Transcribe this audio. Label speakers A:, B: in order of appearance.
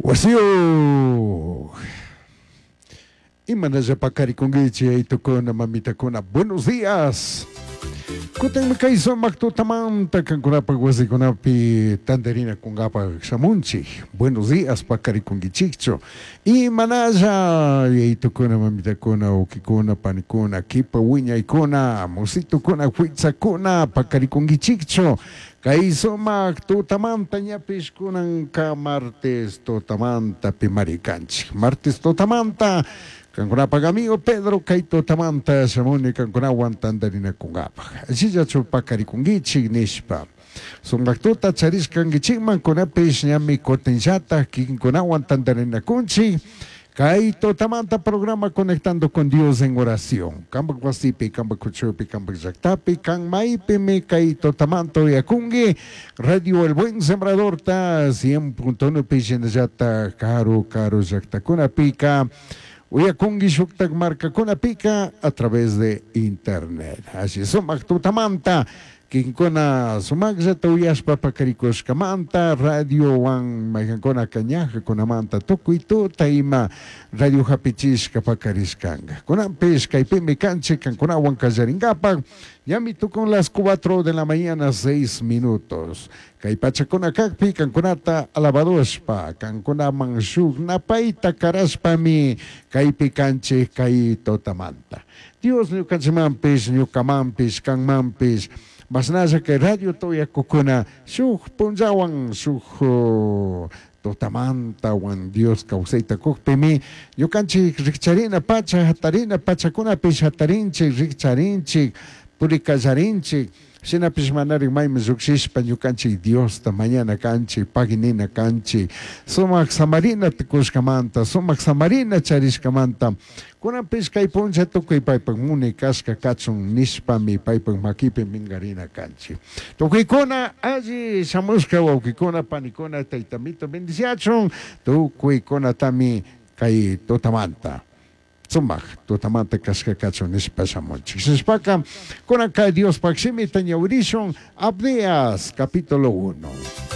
A: Wasiyuq. Imanalla paqarikunkichik yaytukuna mamitakuna. Buenos días. Kutinmi kay sumaq tutamanta kankunapaq wasikunapi tantarinakunkapaq shamunchik. Buenos días paqarikunkichikchu. Imanalla yaytukuna mamitakuna wawqikuna panikuna kipa wiñaykuna musitukuna huitsakuna paqarikunkichikchu. Kay sumaq tutamanta ñapish kunanka martes tutamanta pimari kanchik. Martes tutamanta kankunapak amigo Pedro kay tutamanta shamuni kankunawan tantarinakunkapaq. Allillachu paqarikunkichik nishpa. Sumaq tuta charishkankichikman kunapish ñami kutinllatak kikinkunawan tantarinakunchik. Kay tutamanta programa Conectando con Dios en Oración. Kampak wasipi, kampak kuchupi, kampak llaktapi, kan maypimi kay tutamanta uyakunki. Radio El Buen Sembradorta 100.1 pi shinallatak karu karu llaktakunapika uyakunki shuktak markakunapika a través de internet. Alli sumak tutamanta kikinkuna sumaqllata uyashpa paqarikushkamanta radiowan mayqankunaka ñajakunamanta tukuy tuta ima radio hapichishka paqarishkanka. Kunanpish kaypimi kanchik kankunawan qallarinkapak ñami tukun las 4 de la mañana 6 minutos. Kay pachakuna kakpi kankunata alabadushpa kankunaman shuk napayta karashpami kaypi kanchik kay tutamanta. Dios ñukanchikmanpish ñukamanpish kanmanpish mashnalla kay radiota uyakukuna shuk punllawan shuk tutamantawan Dios kawsayta kukpimi ñukanchik rikcharina pacha hatarina pachakunapish hatarinchik rikcharinchik purikallarinchik shinapish manarik mayman llukshishpa ñukanchik Diosta mañana kanchik paginina kanchik sumak samarina tukushkamanta sumak samarina charishkamanta kunanpish kay punlla tukuy paypak munay kashka kachun nishpami paypak makipi minkarina kanchik. Tukuykuna alli shamushka wawkikuna panikuna taytamito bendiciachun tukuykunatami kay tutamanta sumak tutamanta kashka kachun nishpa shamunchik. Shinashpaka kunanka Diospaj shimita ñawirishun Abdías capítulo 1.